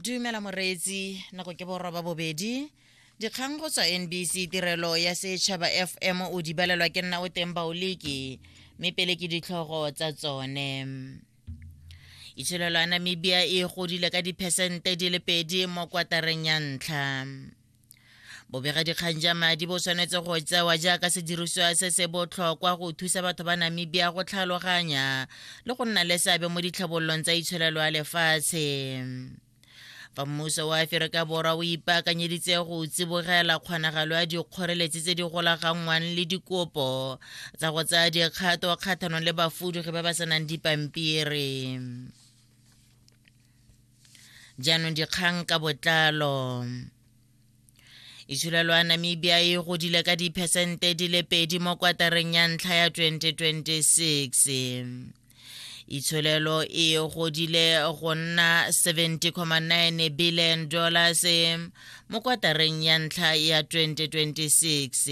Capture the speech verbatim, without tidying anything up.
Dumela moreetsi, nako ke boroba bobedi. Dikgang go tswa N B C Tirelo ya Setšhaba F M, o di balelwa ke nna o teng Baoliki, mme pele ke ditlhogo tsa tsone. Itsholelo ya Namibia e godile ka diphesente di le pedi mo kwatareng ya ntlha. Bobegadikgang ja madi bo tshwanetse go tsewa jaaka sedirisiwa se se botlhokwa go thusa batho ba Namibia go tlhaloganya le go nna le seabe mo ditlhabololong tsa itsholelo ya lefatshe. Fa mmuso wa Aforika Borwa o ipaakanyeditse go tsibogela kgonagalo ya dikgoreletsi tse di golaganngwang le dikopo tsa go tsaya dikgato kgatlhanong le bafudugi ba ba senang dipampiri. Jaanong dikgang ka botlalo. Itsholelo ya Namibia e godile ka diphesente di le pedi mo kwatareng ya ntlha ya twenty twenty-six. Itsholelo e godile go nna seventy point nine billion dollars mo kwatareng ya ntlha ya twenty twenty-six.